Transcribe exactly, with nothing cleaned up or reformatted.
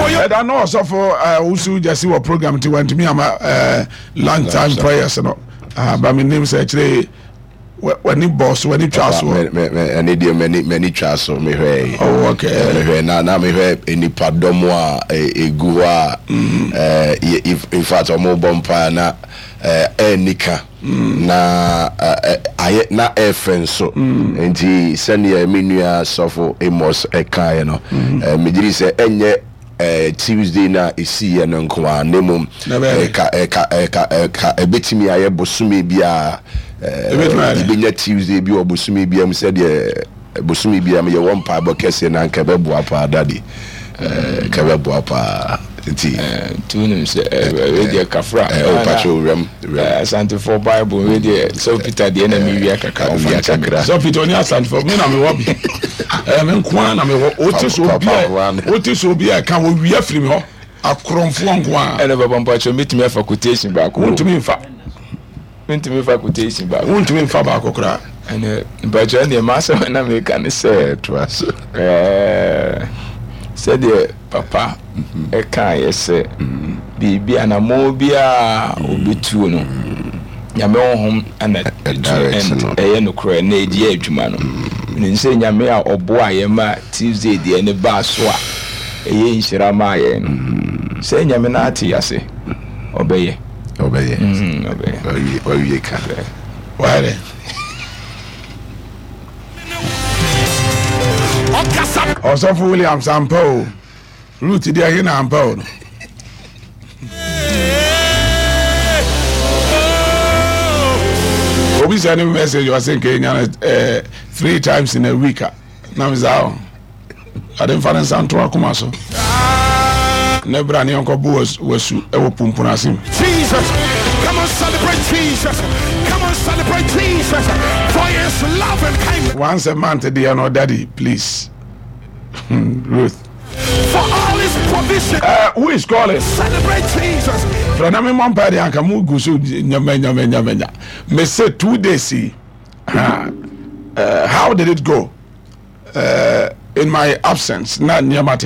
Ɛda na ɔsɔfo Owusu Gyasi wɔ program nti wantumi ama lunch time prayers no. Ba menim sɛ akyire w'ani bɔɔ so, w'ani twaa so. Ɛne deɛ m'ani m'ani twaa so mehwɛ. Oh, okay. Mehwɛ na na mehwɛ nipadɔm a egu hɔ a mm. in fact ɔmo bɔ mpaa na ɛɛni ka mm. na ayɛ na ɛɛfɛ nso mm. Nti sɛnea me nua Sɔfo Amos ɛkaeɛ no, megyeri sɛ ɛnyɛ Tuesday na ɛsiiɛ no nko a, na mmom ɛka ɛka ɛka ɛka ɛbɛtumi ayɛ bosome biara, ɛbɛnya Tuesday bi wɔ bosome biara mu, sɛdeɛ bosome biara mu yɛwɔ mpaebɔ kɛseɛ na nka ɛbɛboa paa, Daddy, nka ɛbɛboa paa nti. Nti wonim sɛ wei deɛ kafra. Ɔpakyɛ owuram. Asantefoɔ Bible wei deɛ, sɛ Peter deɛ na mewia kakra. Wia kakra. Sɛ Peter ɔne Asantefoɔ, me na mewɔ bi, me nko ara na mewɔ. Wote sɛ obi a wote sɛ obi a ɛka wɔwia firi me hɔ, akorɔmfoɔ nko ara. Ɛna baba, mpakyɛ, mɛtumi afa quotation baako? Wontumi mfa. Mentumi fa quotation baako? Wontumi mfa baako koraa. Ɛnɛ mpakyɛ, neɛ maasɛm na meka ne sɛ toa so. Sɛdeɛ papa ɛkaeɛ sɛ biribi anammɔn biara obɛtuo no, Nyame Honhom ana ɛyɛ nokorɛ na ɛdi yɛ adwuma no. Menim sɛ Nyame a ɔboa yɛ ma Tuesday deɛ ne baa so a ɛyɛ nhyira maa yɛn no, sɛ Nyame no ate ase, ɔbɛyɛ. Ɔbɛyɛ. Ɔbɛyɛ. Wawie ka. Wayɛ dɛ. Ɔsɔfo Williams, ampa o, Ruth deɛ he na ampa o no. Obi sɛ ne message, ɔsɛ nka ɛnya no eh, three times in a week a na me saa o ade mfa ne nsa nto akoma so ne bra ne yɛnkɔ bo wasu ɛwɔ pumpun ase mu. Jesus. Come on, celebrate Jesus. Come on, celebrate Jesus for his love and kindness. Once a month deɛ no, Daddy, please. Ruth. For all his provision. Uh, who is calling? Celebrate Jesus. Frɛ na memmɔ mpa deɛ anka mo gu so nyama nyama nyama nya. Me say two days yi. Uh, uh, how did it go? Uh, in my absence na nneɛma te